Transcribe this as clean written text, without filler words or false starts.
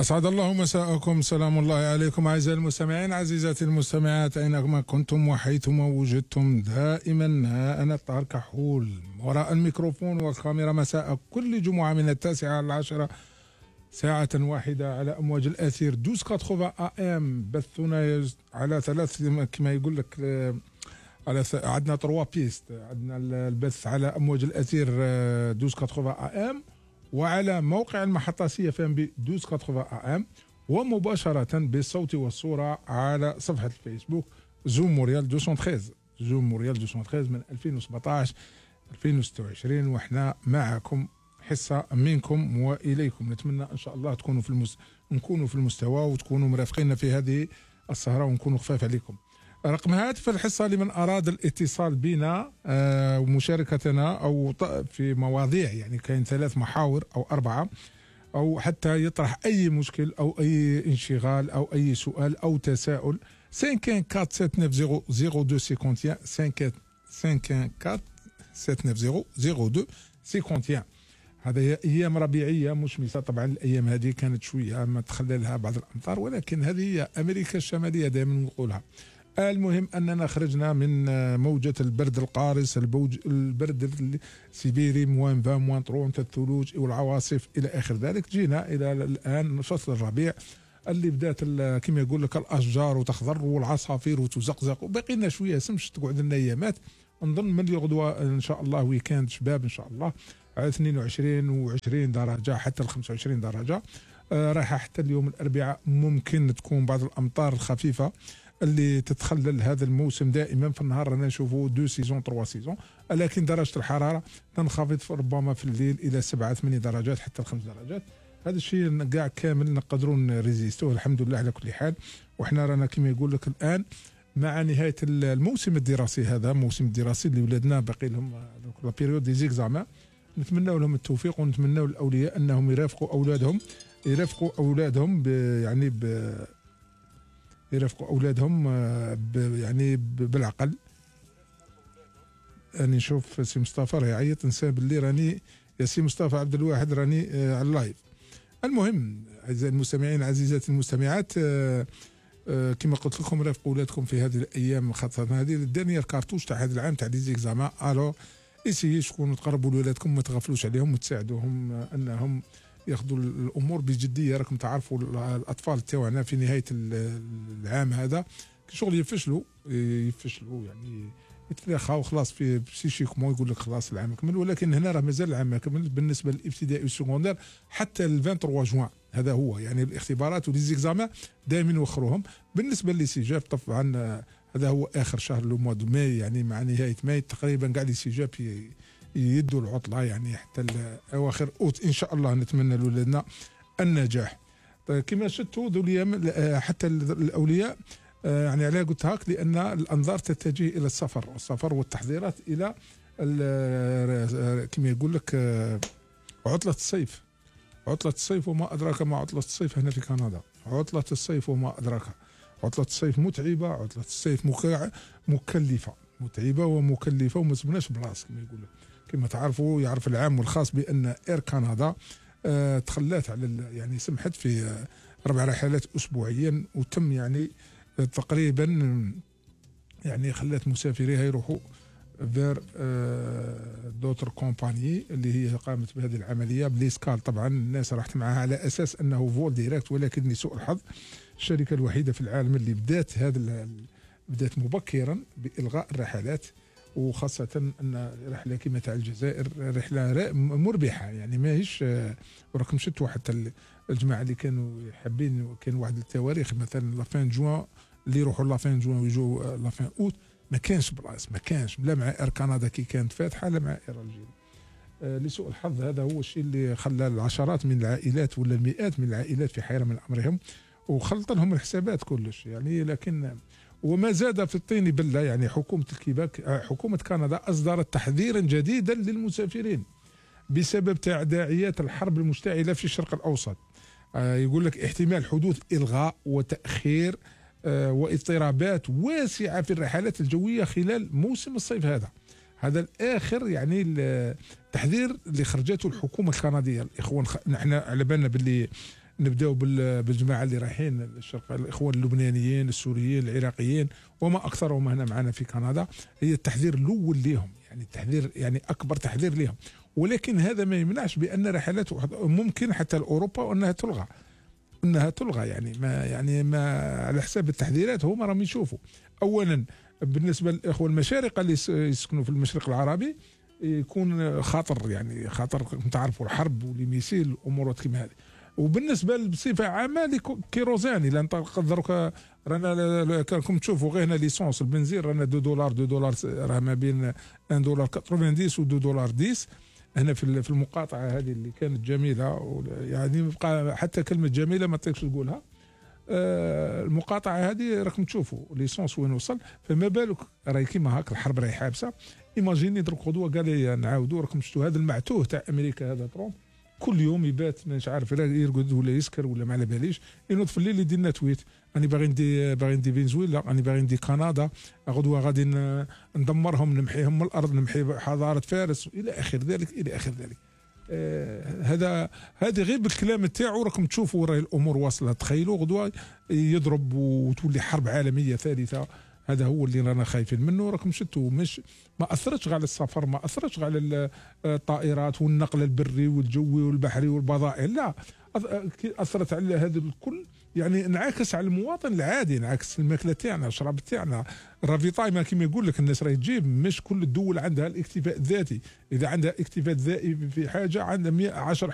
أسعد الله مساءكم، سلام الله عليكم أعزائي المستمعين، عزيزاتي المستمعات أينما كنتم وحيثما وجدتم. دائما أنا طاهر كحول وراء الميكروفون والكاميرا مساء كل جمعة من 9 إلى 10 ساعة واحدة على أمواج الأثير 1280 AM. بثنا على ثلاث كما يقول لك، على عندنا 3 بيست. عندنا البث على أمواج الأثير 1280 AM، وعلى موقع المحطة CFM ب 1280 AM، ومباشرة بالصوت والصورة على صفحة الفيسبوك زوم موريال 213 زوم موريال 213 من 2017 2026. وإحنا معكم حصة منكم وإليكم. نتمنى إن شاء الله تكونوا نكونوا في المستوى وتكونوا مرافقين في هذه السهرة ونكونوا خفاف عليكم. رقم هاتف الحصة لمن أراد الاتصال بنا ومشاركتنا أو في مواضيع، يعني كاين 3 محاور أو 4، أو حتى يطرح أي مشكل أو أي انشغال أو أي سؤال أو تساؤل. 514-790-0251. هذا أيام ربيعية مشمسة. طبعا الأيام هذه كانت شوية ما تخللها بعض الأمطار، ولكن هذه هي أمريكا الشمالية دائما نقولها. المهم أننا خرجنا من موجة البرد القارس، البرد السيبيري -20 -30 الثلوج والعواصف إلى آخر ذلك. جينا إلى الآن فصل الربيع اللي بدات كما يقول لك الأشجار وتخضر والعصافير وتزقزق، وباقي لنا شوية سمش تقعد لنا أيامات. نظن من الغدوة إن شاء الله ويكاند شباب إن شاء الله على 22 و20 درجة حتى 25 درجة. رايحة حتى اليوم الأربعاء ممكن تكون بعض الأمطار الخفيفة اللي تتخلل هذا الموسم. دائما في النهار رانا نشوفوا 2 سيزون 3 سيزون، لكن درجة الحرارة تنخفض ربما في الليل إلى 7-8 درجات حتى 5 درجات. هذا الشيء كاع كامل نقدروا نريزيستوه الحمد لله على كل حال. وإحنا رانا كما يقول لك الآن مع نهاية الموسم الدراسي. هذا الموسم الدراسي اللي ولادنا باقي لهم لا بيريود دي زيكزامان. نتمنى لهم التوفيق ونتمنى للأولياء أنهم يرافقوا أولادهم يرافقوا أولادهم يعني بالعقل. أنا نشوف سي مصطفى راه يعيط، نسى باللي راني يا سي مصطفى عبد الواحد راني على اللايف. المهم أعزائي المستمعين عزيزاتي المستمعات، كما قلت لكم رافقوا أولادكم في هذه الأيام، خاصة هذه الدنيا الكارتوش تاع هذا العام تاع ليزيكزامان. ألو إيسيي تكونوا تقربوا لولادكم، ما تغفلوش عليهم وتساعدوهم أنهم ياخذوا الامور بجديه. راكم تعرفوا الاطفال تاعنا في نهايه العام هذا شغل يفشلوا يعني يتلاخاو خلاص في بسيشيكمون، يقول لك خلاص العام كمل، ولكن هنا راه مازال العام ما كمل بالنسبه للابتدائي والسكوندير حتى ال 23 جوان. هذا هو يعني الاختبارات وليزيكزامان دائما يوخروهم. بالنسبه للسجاب طبعا هذا هو اخر شهر لو موا دو ماي، يعني مع نهايه ماي تقريبا كاع السجاب يدوا العطلة يعني حتى أواخر أوت إن شاء الله. نتمنى لولادنا النجاح. طيب كما شفتوا ذو اليوم حتى الأولياء يعني على قلت هاك، لأن الأنظار تتجه إلى السفر والتحضيرات إلى كما يقول لك عطلة الصيف وما أدراك ما عطلة الصيف هنا في كندا. عطلة الصيف وما أدراك. عطلة الصيف متعبة، عطلة الصيف متعبة ومكلفة وما سبناش بلاص كما يقول لك. كما تعرفوا يعرف العام والخاص بأن إير كندا تخلات على يعني سمحت في 4 رحلات أسبوعيا، وتم يعني تقريبا يعني خلات مسافريها يروحوا فير دوتر كومباني اللي هي قامت بهذه العملية بليسكال. طبعا الناس راحت معها على أساس أنه فول ديريكت، ولكن لسوء الحظ الشركة الوحيدة في العالم اللي بدات مبكرا بإلغاء الرحلات، وخاصة أن رحلة كما تاع الجزائر رحلة مربحة يعني ماهيش. وراكم شفتوا حتى الجماعة اللي كانوا حابين، كان واحد التواريخ مثلا لافين جوان اللي يروحوا لافين جوان ويجوا لافين أوت، ما كانش بلاص، ما كانش لا مع إير كندا كي كانت فاتحة لا مع إير الجيري. لسوء الحظ هذا هو الشيء اللي خلى العشرات من العائلات ولا المئات من العائلات في حيرة من أمرهم، وخلط لهم الحسابات كلش يعني. لكن وما زاد في الطين بلة، يعني حكومة الكيباك حكومة كندا أصدرت تحذيرا جديدا للمسافرين بسبب تداعيات الحرب المشتعلة في الشرق الأوسط. يقول لك احتمال حدوث إلغاء وتأخير واضطرابات واسعة في الرحلات الجوية خلال موسم الصيف هذا الآخر يعني التحذير اللي خرجته الحكومة الكندية. الإخوان نحن على بالنا باللي نبداو بالجماعه اللي رايحين الشرق، الاخوان اللبنانيين السوريين العراقيين وما اكثرهم هنا معنا في كندا. هي التحذير الاول لهم، يعني التحذير يعني اكبر تحذير لهم. ولكن هذا ما يمنعش بان رحلات ممكن حتى لاوروبا انها تلغى يعني ما على حساب التحذيرات هما راهم يشوفوا. اولا بالنسبه للاخوه المشارقه اللي يسكنوا في المشرق العربي يكون خطر، يعني خطر تعرفوا الحرب والميسيل والامورات كيما هذه. وبالنسبه بصفه عامه لكيروزان، الا نقدروا رانا كنتم تشوفوا غير هنا ليسونس البنزين رانا $2 راه ما بين $1.90 و $2.10 هنا في المقاطعه هذه اللي كانت جميله، يعني بقى حتى كلمه جميله ما تقدرش تقولها. المقاطعه هذه راكم تشوفوا ليسونس وين وصل، فما بالك راهي كيما هاك الحرب راهي حابسه. ايماجيني درك غدوه قال لي نعاودوا، راكم شفتوا هذا المعتوه تاع امريكا هذا ترامب كل يوم يبات مش عارف يرقد ولا يسكر ولا ما على باليش، ينوض في الليل يدير لنا تويت انا باغي ندي فنزويلا، انا باغي ندي كندا، غدوه غادي ندمرهم نمحيهم من الارض، نمحي حضاره فارس الى اخر ذلك الى اخر ذلك. هذه غير بالكلام تاعو راكم تشوفوا راهي الامور واصله. تخيلوا غدوه يضرب وتولي حرب عالميه ثالثه. هذا هو اللي رانا خايفين منه. راكم شفتوا مش ما اثرتش على السفر، ما اثرتش على الطائرات والنقل البري والجوي والبحري والبضائع، لا اثرت على هذا الكل. يعني انعكس على المواطن العادي، انعكس الماكله تاعنا، الشراب تاعنا، الرافيطاي ما كيما يقول لك الناس راهي تجيب. مش كل الدول عندها الاكتفاء الذاتي، اذا عندها اكتفاء ذاتي في حاجه عندها 10